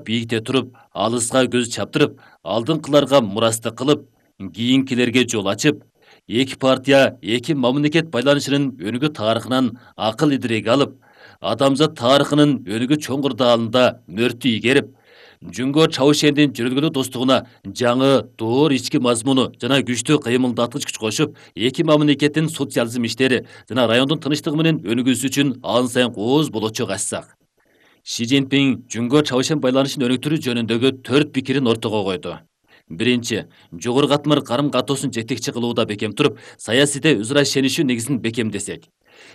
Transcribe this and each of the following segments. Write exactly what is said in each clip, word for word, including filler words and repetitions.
бийикте туруп, алыска көз чаптырып, алдыңкыларга мурастык кылып, кийинкилерге жол ачып, эки партия, эки мамлекет байланышынын өнүгүү тарыхынан акыл идиреги алып, адамзат тарыхынын өнүгүү чоңгурдаалында мөртү ийгерип, Жүнгө Чаушендин жүрөлгөлүү достугуна жаңы доор ички мазмуну жана күчтүү кыймылдаткыч күч кошуп, эки мамлекеттин социализм иштери жана райондун тынчтыгы менен өнүгүүсү үчүн ан сайын кооз болочок ачсак. Ши Цзиньпин Жүнгө Чаушен байланышын өнүктүрүү жөнүндөгү төрт пикирин ортого койду. Биринчи, жогору катмар карым катоосун жетекчи кылууда бекем туруп, саясийде өзара ишенишүү негизин бекемдесек.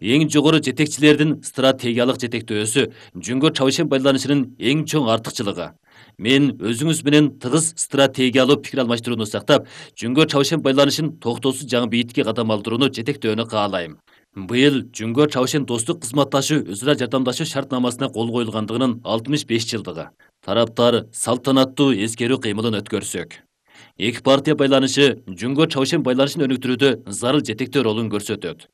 Эң жогору жетекчилердин стратегиялык жетектөөсү Жүнгө Чаушен байланышынын эң чоң артыкчылыгы. Мен өзүңүз менен тыгыз стратегиялуу пикир алмаштырууну сактап, Жүнгө Чаушен байланышын токтоосуз жаңы бийикке кадам алдырууну жетектөөнү каалайм. Быйыл Жүнгө Чаушен достук кызматташуу өзара жардамдашуу шартнамасына кол коюлгандыгынын алтымыш беш жылдыгы. Тараптар салтанаттуу эскерүү кыймылын өткөрсөк. Эки партия байланышы Жүнгө Чаушен байланышын өнүктүрүүдө зарыл жетектөө ролун көрсөтөт.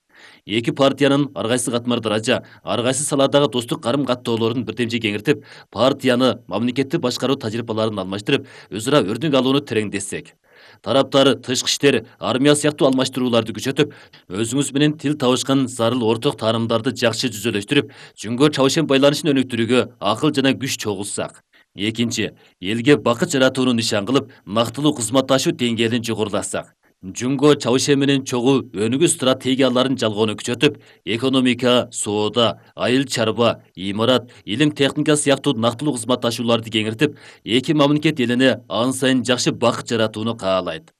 Эки партиянын ар кайсы катмар даража, ар кайсы саладагы достук карым каттоолорун бирдемчи кеңиртип, партияны, мамлекетти башкаруу тажрыйбаларын алмаштырып, өзара өрнөк алууну тереңдетсек. Тараптар тышкы иштер, армия сыяктуу алмаштырууларды күчөтүп, өзүңүз менен тил табышкан зарыл орток таанымдарды жакшы жүзөлөштүрүп, Жүнгө Чаушен байланышын өнүктүрүүгө акыл жана күч чогултсак. Экинчи, элге бакыт жаратууну нишан кылып, нактылуу кызматташуу деңгээлин жогорулатсак. Жүнгө Чаушен менен чогуу өнүгүү стратегияларын жалгоону күчөтүп, экономика, соода, айыл чарба, имарат, илим техника сыяктуу нактылуу кызматташууларды кеңиртип, эки мамлекет элине ан сайын жакшы бакыт жаратууну каалайт.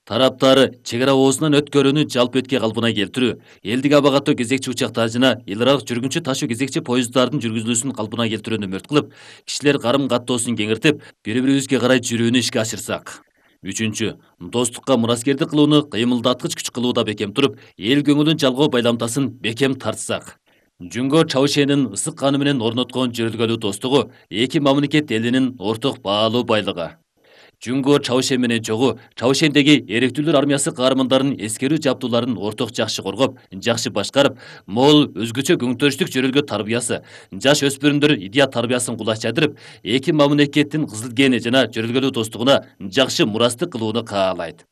Тараптар чек ара оозунан өткөрүүнү жалпы этке калпына келтирүү, элдик аба каттоо кезекчи учактар жана эл аралык жүргүнчү ташуу кезекчи поезддардын жүргүзүлүүсүн калпына келтирүүнү мөрт кылып, кишилер карым каттоосун кеңиртип, бири-бирибизге карай жүрүүнү ишке ашырсак. Үчүнчү, достукка мураскердик кылууну кыймылдаткыч күч кылууда бекем туруп, эл көңүлүн жалгоо байламтасын бекем тартсак. Жүнгө Чаушенин ысык каны менен орноткон жүрөлгөлүү достугу эки мамлекет элинин орток баалуу байлыгы. Жүнгө Чаушен менен чогуу Чаушендеги эректүүлөр армиясы каармандарын эскерүү жабдууларын орток жакшы коргоп, жакшы башкарып, мол өзгөчө көңтөрүштүк жүрөлгө тарбиясы, жаш өспүрүмдөр идея тарбиясын кулаш жадырып, эки мамлекеттин кызыл гени жана жүрөлгөлүү достугуна жакшы мурастык кылууну каалайт.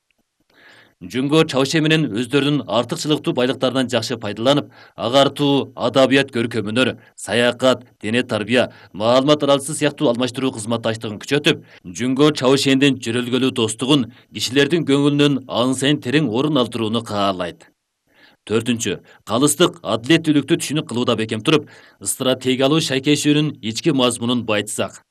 Жүнгө Чаушен менен өздөрүнүн артыкчылыктуу байлыктарынан жакшы пайдаланып, агартуу, адабият көркөмүнөр, саякат, дене тарбия, маалымат аралышы сыяктуу алмаштыруу кызматташтыгын күчөтүп, Жүнгө Чаушендин жүрөлгөлүү достугун кишилердин көңүлүнөн ан сайын терең орун алдырууну каалайт. Төртүнчү, калыстык адилеттүүлүктү түшүнүк кылууда бекем туруп, стратегиялуу шайкешүүнүн ички мазмунун байытсак.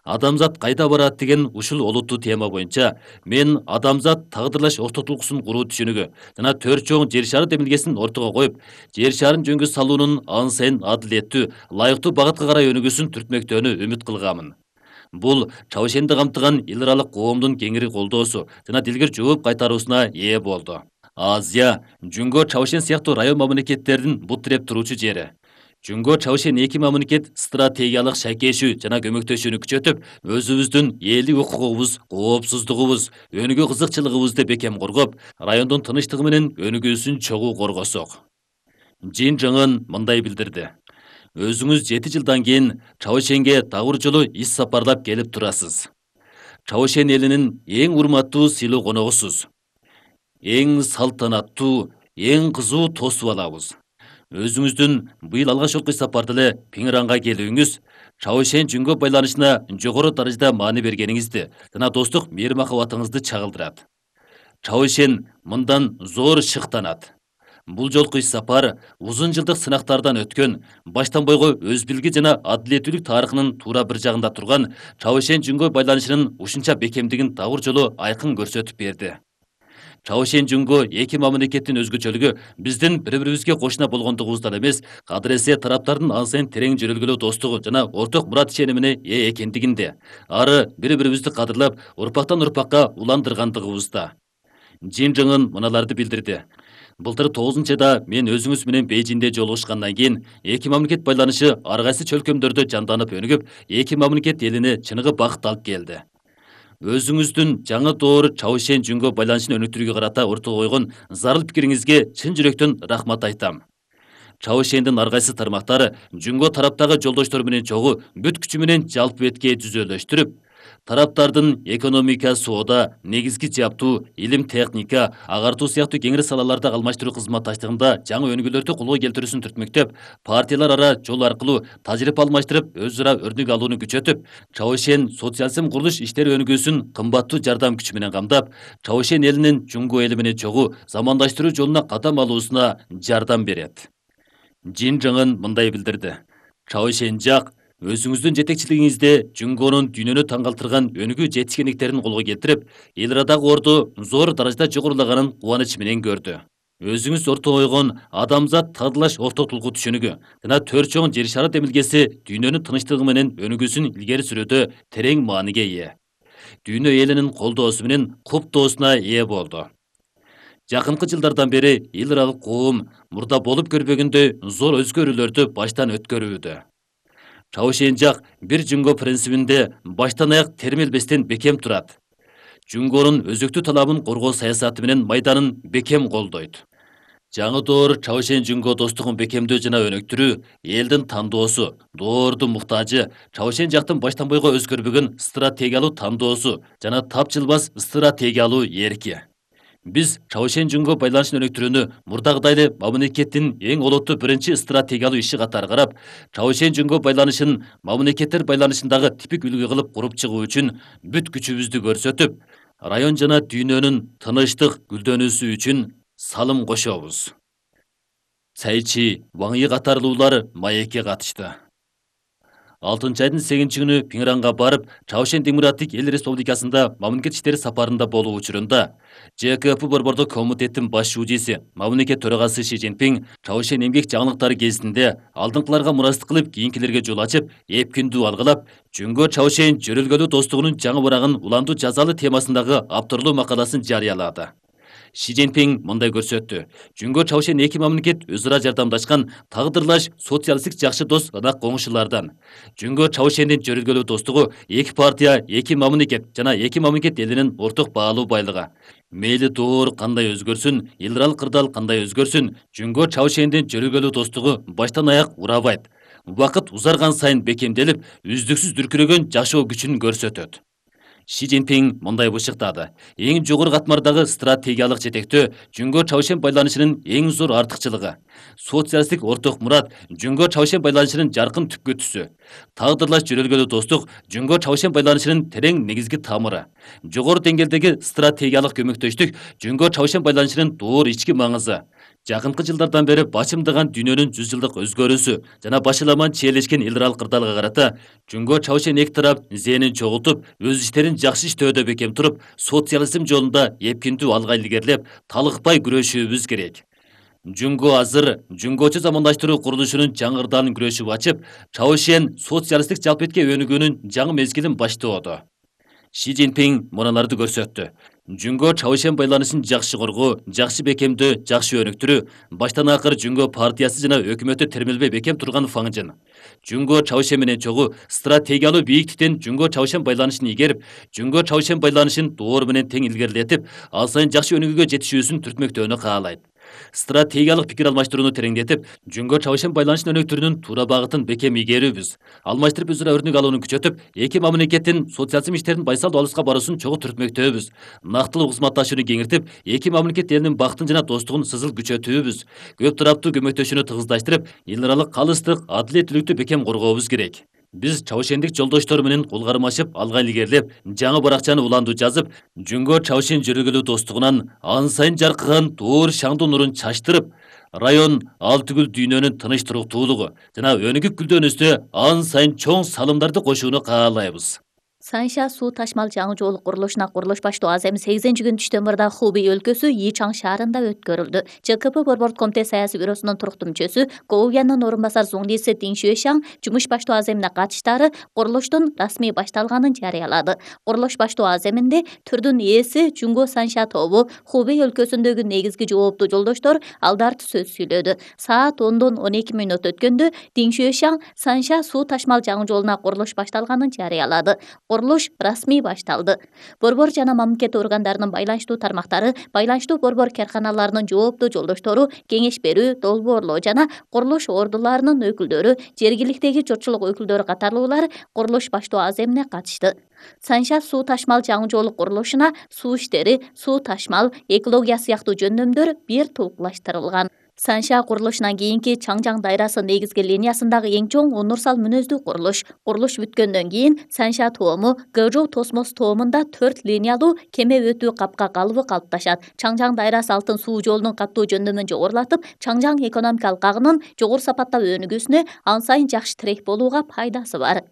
Адамзат кайда барат деген ушул олуттуу тема боюнча мен адамзат тагдырлаш ортотулкусун куруу түшүнүгү жана төрт чоң жер шары демилгесин ортого коюп, жер шарын жөнгө салуунун ан сайын адилеттүү, ылайыктуу багытка карай өнүгүүсүн түртмөктөөнү үмүт кылганмын. Бул Чаушенди камтыган эл аралык коомдун кеңири колдоосу жана дилгир жооп кайтаруусуна ээ болду. Азия, Жүнгө Чаушен сыяктуу район мамлекеттердин бут тиреп туруучу жери. Жүнгө Чаушен эки мамлекет стратегиялык шайкешүү жана көмөктөшүүнү күчөтүп, өзүбүздүн элдик укугубуз, коопсуздугубуз, өнүгүү кызыкчылыгыбызды бекем коргоп, райондун тынчтыгы менен өнүгүүсүн чогуу коргосок. Жин Жыңын мындай билдирди. Өзүңүз жети жылдан кийин Чаушенге дагы бир жолу ис сапарлап келип турасыз. Чаушен элинин эң урматтуу сыйлуу коногусуз. Эң салтанаттуу, эң кызуу тосуп алабыз. Өзүңүздүн быйыл алгач жолку сапарда эле Пиңранга келүүңүз Чаушен Жүнгө байланышына жогору даражада маани бергениңизди жана достук мээри махабатыңызды чагылдырат. Чаушен мындан зор шыктанат. Бул жолку сапар узун жылдык сынактардан өткөн, баштан бойго өз билги жана адилеттүүлүк тарыхынын туура бир жагында турган Чаушен Жүнгө байланышынын ушунча бекемдигин дагы бир жолу айкын көрсөтүп берди. Чаушен Жүнгө эки мамлекеттин өзгөчөлүгү биздин бири-бирибизге кошуна болгондугубуздан эмес, кадыресе тараптардын ан сайын терең жүрөлгөлүү достугу жана орток мурат ишенимине ээ экендигинде, ары бири-бирибизди кадырлап, урпактан урпакка уландыргандыгыбызда. Жин Жыңын мыналарды билдирди. Былтыр тогузунчу айда мен өзүңүз менен Бейжиңде жолугушкандан кийин эки мамлекет байланышы ар кайсы чөлкөмдөрдө жанданып өнүгүп, эки мамлекет элине чыныгы бакыт алып келди. Өзүңүздүн жаңы доор Чаушен Жүнгө байланышын өнүктүрүүгө карата ортого койгон зарыл пикириңизге чын жүрөктөн рахмат айтам. Чаошендин ар кайсы тармактары Жүнгө тараптагы жолдоштор менен чогуу бүт күчү менен жалпы бетке түзөлөштүрүп, тараптардын экономика, соода, негизги жаптуу, илим техника, агартуу сыяктуу кеңири салаларда алмаштыруу кызматташтыгында жаңы өнүгүүлөрдү колго келтирүүсүн түртмөктөп, партиялар ара жол аркылуу тажрыйба алмаштырып, өз ара өрнүк алууну күчөтүп, Чаошен социализм курулуш иштери өнүгүүсүн кымбаттуу жардам күчү менен камдап, Чаошен элинин Жүнгө эли менен чогуу замандаштыруу жолуна кадам алуусуна жардам берет. Жин Жыңын мындай билдирди: Чаошен жак өзүңүздүн жетекчилигиңизде Жүнгөнүн дүйнөнү таң калтырган өнүгүү жетишкендиктерин колго келтирип, эл арадагы орду зор даражада жогорулаганын кубаныч менен көрдү. Өзүңүз орто койгон адамзат тагдылаш орток тулгу түшүнүгү жана төрт чоң жер шары демилгеси дүйнөнүн тынчтыгы менен өнүгүүсүн илгери сүрүүдө терең мааниге ээ. Дүйнө элинин колдоосу менен куптоосуна ээ болду. Жакынкы жылдардан бери эл аралык коом мурда болуп көрбөгөндөй зор өзгөрүүлөрдү баштан өткөрүүдө. Чаошен жак бир Жүнгө принцибинде баштан аяк термелбестен бекем турат. Жүнгөнүн өзөктүү талабын коргоо саясаты менен майданын бекем колдойт. Жаңы доор Чаошен Жүнгө достугун бекемдөө жана өнүктүрүү элдин тандоосу, доордун муктажы, Чаошен жактын баштан бойго өзгөрбөгөн стратегиялуу тандоосу жана тапчылбас стратегиялуу эрки. Биз Чаошен Жүнгө байланышын өнүктүрүүнү мурдагыдай эле мамлекеттин эң олуттуу биринчи стратегиялуу иши катары карап, Чаошен Жүнгө байланышын мамлекеттер байланышындагы типик үлгү кылып куруп чыгуу үчүн бүт күчүбүздү көрсөтүп, район жана дүйнөнүн тынычтык гүлдөнүүсү үчүн салым кошобуз. Цайчи, Ваң Йи катарлуулар маекке катышты. алтынчы айдын сегизинчи күнү Пиңранга барып, Чаошен Демократик Эл Республикасында мамлекет иштери сапарында болуу учурунда Же Ка Пэ борбордук комитеттин баш шүүжеси, мамлекет төрагасы Ши Цзиньпин Чаошен эмгек жаңылыктары кезинде алдыңкыларга мурастык кылып, кийинкилерге жол ачып, эпкиндүү алгылап, Жүнгө Чаошен жөрөлгөлүү достугунун жаңы бурагын улантуу жазалы темасындагы авторлуу макаласын жарыялады. Ши Цзиньпин мындай көрсөттү: Жүнгө Чаошен эки мамлекет өз ара жардамдашкан тагдырлаш социалисттик жакшы дос ынак коңшулардан. Жүнгө Чаошендин жөрөлгөлүү достугу эки партия, эки мамлекет жана эки мамлекет элинин орток баалуу байлыгы. Мейли доор кандай өзгөрсүн, эл аралык кырдаал кандай өзгөрсүн, Жүнгө Чаошендин жөрөлгөлүү достугу баштан аяк урабайт. Убакыт узарган сайын бекемделип, үздүксүз дүркүрөгөн жашоо күчүн көрсөтөт. Ши Цзиньпин мындай бышыктады: эң жогору катмардагы стратегиялык жетектөө Жүнгө Чаошен байланышынын эң зор артыкчылыгы. Социалисттик орток мурат Жүнгө Чаошен байланышынын жаркын түпкү түсү. Тагдырлаш жөрөлгөлүү достук Жүнгө Чаошен байланышынын терең негизги тамыры. Жогору деңгээлдеги стратегиялык көмөктөштүк Жүнгө Чаошен байланышынын доор ички маңызы. Жакынкы жылдардан бери бачымдаган дүйнөнүн жүз жылдык өзгөрүүсү жана башыламан чиелешкен эл аралык кырдаалга карата Жүнгө Чаошен эки тарап зээнин чогултуп, өз иштерин жакшы иштөөдө бекем туруп, социализм жолунда эпкиндүү алга илгерилеп, талыкпай күрөшүүбүз керек. Жүнгө азыр Жүнгөчө замандаштыруу курулушунун жаңырдаанын күрөшүп ачып, Чаошен социалисттик жалпетке өнүгүүнүн жаңы мезгилин баштоодо. Ши Цзиньпин муналарды көрсөттү: Жүнгө Чаошен байланышын жакшы коргоо, жакшы бекемдөө, жакшы өнүктүрүү баштан акыр Жүнгө партиясы жана өкмөтү термелбей бекем турган фаңжын. Жүнгө Чаошен менен чогуу стратегиялуу бийиктиктен Жүнгө Чаошен байланышын игерип, Жүнгө Чаошен байланышын доор менен тең илгерилетип, ал сайын жакшы өнүгүүгө жетишүүсүн түртмөктөөнү каалайт. Стратегиялык пикир алмаштырууну тереңдетип, Жүнгө Чаошен байланышын өнүктүрүүнүн туура багытын бекем игерүүбүз. Алмаштырып өз ара өрнүк алууну күчөтүп, эки мамлекеттин социализм иштерин байсал алыска баруусун чогуу түртмөктөбүз. Нактылуу кызматташууну кеңиртип, эки мамлекет элинин бактын жана достугун сызыл күчөтүүбүз. Көп тараптуу көмөктөшүүнү тыгыздаштырып, эл аралык калыстык, адилеттүүлүктү бекем коргообуз керек. Биз Чаошендик жолдоштор менен кол кармашып, алга илгерилеп, жаңы баракчаны улантуу жазып, Жүнгө Чаошен жөрөлгөлүү достугунан ан сайын жаркыган доор шаңдуу нурун чачтырып, район ал түгүл дүйнөнүн тыныч туруктуулугу жана өнүгүп гүлдөнүүсүнө ан сайын чоң салымдарды кошууну каалайбыз. Санша суу ташмал жаңы жол курулушуна курулуш баштоо азем сегизинчи күнү түштөн мурда Хубей өлкөсү Йичан шаарында өткөрүлдү. Же Ка Пэ борбордук комитет саясий бюросунун туруктуу мүчөсү Гоуянын орун басар Зуңдиси Дин Шуэшаң жумуш баштоо аземине катыштары курулуштун расмий башталганын жарыялады. Курулуш баштоо аземинде түрдүн ээси Жүнгө Санша тобу Хубей өлкөсүндөгү негизги жооптуу жолдоштор алдарты сөз сүйлөдү. Саат ондон он эки мүнөт өткөндө Дин Шуэшаң Санша суу ташмал жаңы жолуна курулуш башталганын жарыялады. Курулуш расмий башталды. Борбор жана мамлекет органдарынын байланыштуу тармактары, байланыштуу борбор карканаларынын жооптуу жолдоштору, кеңеш берүү, долбоорлоо жана курулуш ордуларынын өкүлдөрү, жергиликтеги журтчулук өкүлдөрү катарлуулар курулуш баштоо аземине катышты. Санша суу ташмал жаңы жолу курулушуна суу иштери, суу ташмал, экология сыяктуу жөндөмдөр бир тулкулаштырылган. Санша курулушунан кийинки Чаңжаң дайрасы негизги линиясындагы эң чоң унурсал мүнөздүү курулуш. Курулуш бүткөндөн кийин Санша тоому, Гыжоо Тосмос тоомунда төрт линиялуу кеме өтүү капка калыбы калыпташат. Чаңжаң дайрасы алтын суу жолунун каттуу жөндөмүн жогорулатып, Чаңжаң экономикалык агынын жогору сапаттап өнүгүүсүнө ан сайын жакшы тирек болууга пайдасы бар.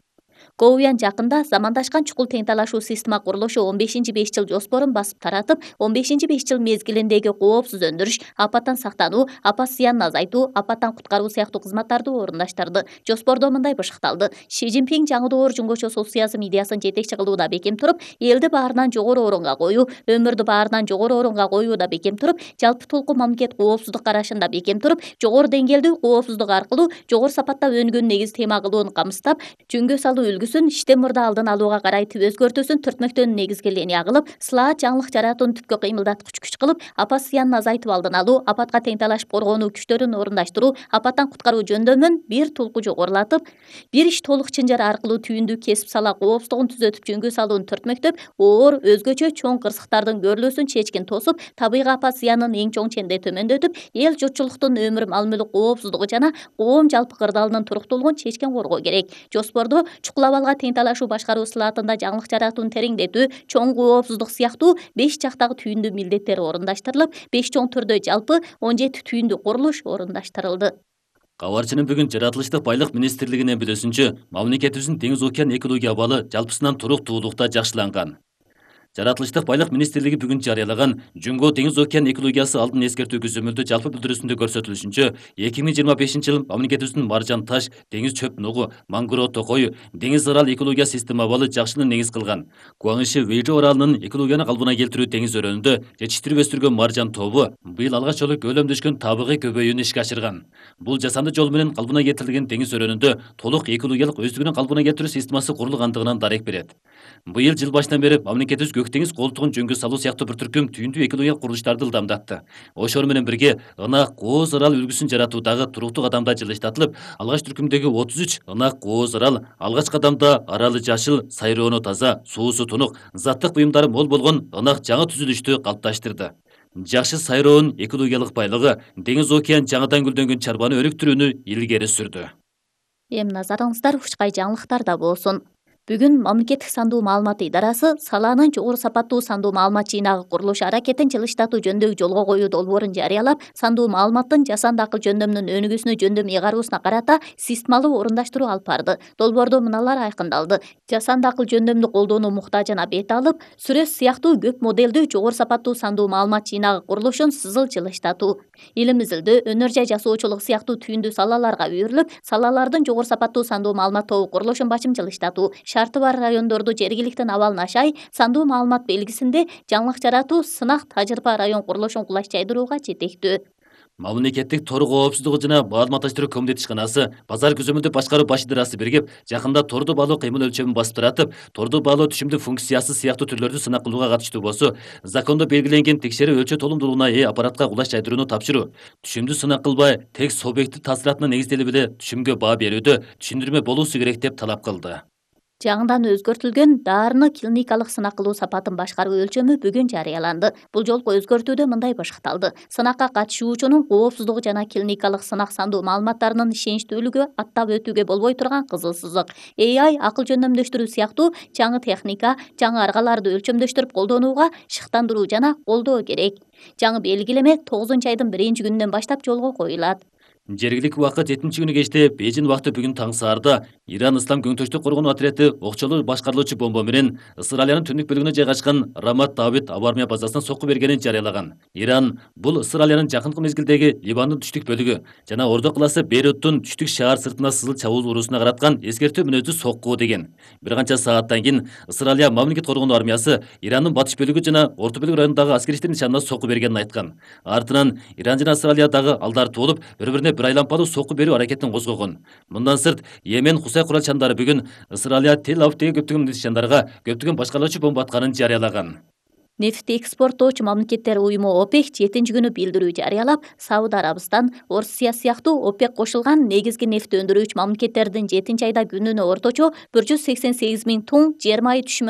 Коуян жакында замандашкан чукул тең талашуу система курулушу он бешинчи беш жыл жоспорун басып таратып, он бешинчи беш жыл мезгилиндеги коопсуз өндүрүш, апаттан сактануу, апат зыянын азайтуу, апаттан куткаруу сыяктуу кызматтарды орундаштырды. Жоспордо мындай бышыкталды: Ши Цзиньпин жаңы доор жөнгөчө социализм идеясын жетекчи кылууда бекем туруп, элди баарынан жогору орунга коюу, өмүрдү баарынан жогору орунга коюуда бекем туруп, жалпы толку мамлекет коопсуздук карашында бекем туруп, жогору деңгээлдүү коопсуздук аркылуу жогору сапатта өнүгүүнү негиз тема кылууну камсыздап, жөнгө салуу үлгүсүн иштен мурда алдын алууга карай түп өзгөртүүсүн түртмөктөн негизги линия кылып, сылаат жаңылык жаратууну түпкү кыймылдаткыч күч кылып, апат зыянын азайтып алдын алуу, апатка тең талашып коргонуу күчтөрүн орундаштыруу, апаттан куткаруу жөндөмүн бир тулку жогорулатып, бир иш толук чынжыр аркылуу түйүндү кесип сала коопсуздугун түзөтүп жөнгө салууну түртмөктөп, оор, өзгөчө чоң кырсыктардын көрүлүүсүн чечкин тосуп, табигый апат зыянын эң чоң ченде төмөндөтүп, эл журтчулуктун өмүр мал мүлк коопсуздугу жана коом жалпы кырдаалынын туруктуулугун чечкен коргоо керек. Жоспордо чукул абалга тең талашуу башкаруу сылаатында жаңылык жаратууну тереңдетүү, чоң коопсуздук сыяктуу беш жактагы түйүндүү милдеттер орундаштырылып, беш чоң түрдө жалпы он жети түйүндүү курулуш орундаштырылды. Кабарчынын бүгүн жаратылыштык байлык министрлигинин билүүсүнчө, мамлекетибиздин деңиз океан экология абалы жалпысынан туруктуулукта жакшыланган. Жаратылыштык байлык министрлиги бүгүн жарыялаган Жөнгө деңиз океан экологиясы алдын эскертүү көзөмөлдү жалпы билдирүүсүндө көрсөтүлүшүнчө, эки миң жыйырма бешинчи жыл мамлекетибиздин маржан таш, деңиз чөп нугу, мангро токой, деңиз арал экология система абалы жакшыны негиз кылган. Куаңыши Вэйжо аралынын экологияны калыбына келтирүү деңиз өрөөнүндө жетиштирип өстүргөн маржан тобу быйыл алгач жолу көлөмдөшкөн табигый көбөйүүнү ишке ашырган. Бул жасанды жол менен калыбына келтирилген деңиз өрөөнүндө толук экологиялык өздүгүнүн калыбына келтирүү системасы курулгандыгынан дарек берет. Быйыл жыл башынан бери мамлекетибиз көк деңиз колтугун жөнгө салуу сыяктуу бир түркүм түйүндүү экологиялык курулуштарды ылдамдатты. Ошол менен бирге ынак кооз арал үлгүсүн жаратуудагы туруктуу кадамда жылыштатылып, алгач түркүмдөгү отуз үч ынак кооз арал, алгач кадамда аралы жашыл, сайроону таза, суусу тунук, заттык буюмдары мол болгон ынак жаңы түзүлүштү калыпташтырды. Жакшы сайроонун экологиялык байлыгы деңиз океан жаңыдан гүлдөнгөн чарбаны өнүктүрүүнү илгери сүрдү. Эми назарыңыздар учкай жаңылыктарда болсун. Бүгүн мамлекеттик сандуу маалымат идарасы салаанын жогору сапаттуу сандуу маалымат жыйнагы курулуш аракетин жылыштатуу жөнүндөгү жолго коюу долбоорун жарыялап, сандуу маалыматтын жасанды акыл жөндөмүнүн өнүгүүсүнө жөндөм ыйгаруусуна карата системалуу орундаштыруу алып барды. Долбоордо мыналар айкындалды: жасанды акыл жөндөмдү колдонуу муктажына бет алып, сүрөт сыяктуу көп моделдүү жогору сапаттуу сандуу маалымат жыйнагы курулушун сызыл жылыштатуу, илим изилдөө, өнөр жай жасоочулук сыяктуу түйүндүү салаларга үйрүлүп, салалардын жогору сапаттуу сандуу маалымат тобу курулушун башым жылыштатуу, шарты бар райондорду жергиликтин абалын ашай, сандуу маалымат белгисинде жаңылык жаратуу сынак тажрыйба район курулушун кулаш жайдырууга жетектүү. Мамлекеттик тор коопсуздугу жана маалыматташтыруу комитет ишканасы базар көзөмөлдү башкаруу баш идарасы биригип, жакында торду баалоо кыймыл өлчөмүн басып таратып, торду баалоо түшүмдүк функциясы сыяктуу түрлөрдү сынак кылууга катыштуу болсо, закондо белгиленген текшерүү өлчө толумдуулугуна ээ аппаратка кулаш жайдырууну тапшыруу, түшүмдү сынак кылбай, тек субъекттик таасиратына негизделип эле түшүмгө баа берүүдө түшүндүрмө болуусу керек деп талап кылды. Жаңыдан өзгөртүлгөн дарыны клиникалык сынак кылуу сапатын башкаруу өлчөмү бүгүн жарыяланды. Бул жолку өзгөртүүдө мындай башыкталды: сынакка катышуучунун коопсуздугу жана клиникалык сынак сандуу маалыматтарынын ишеничтүүлүгү аттап өтүүгө болбой турган кызыл сызык. эй ай, акыл жөндөмдөштүрүү сыяктуу жаңы техника, жаңы аргаларды өлчөмдөштүрүп колдонууга шыктандыруу жана колдоо керек. Жаңы белгилеме тогузунчу айдын биринчи күнүнөн баштап жолго коюлат. Жергиликтик убакыт жетинчи күнү кечте Бейжин убакыты бүгүн таң саарда Иран Ислам көңтөштүк коргонуу отряды окчолуу башкарылуучу бомба менен Ысыралиянын түндүк бөлүгүнө жайгашкан Рамат Давид аба армия базасына сокку бергенин жарыялаган. Иран бул Ысыралиянын жакынкы мезгилдеги Ливандын түштүк бөлүгү жана Ордо калаасы Бейруттун түштүк шаар сыртына сызыл чабуул уруусуна караткан эскертүү мүнөздүү сокку деген. Бир канча сааттан кийин Ысыралия мамлекет коргонуу армиясы Ирандын батыш бөлүгү жана орто бөлүк районундагы аскерчилердин нишанына сокку бергенин айткан. Артынан Иран жана Ысыралия дагы алдарты болуп, бири-бирине бир айлампалуу сокку берүү аракетин козгогон. Мындан сырт, Йемен Хусай куралчандары бүгүн Ысыралия Тель-Авивдеги көптөгөн нишандарга көптөгөн башкалоочу бомба атканын жарыялаган. Нефт экспорттоочу мамлекеттер уюму ОПЕК жетинчи күнү билдирүү жарыялап, Сауд Арабистан, Орусия сыяктуу ОПЕК кошулган негизги нефт өндүрүүчү мамлекеттердин жетинчи айда күнүнө орточо бир жүз сексен сегиз миң тонн жер майы түшүмүн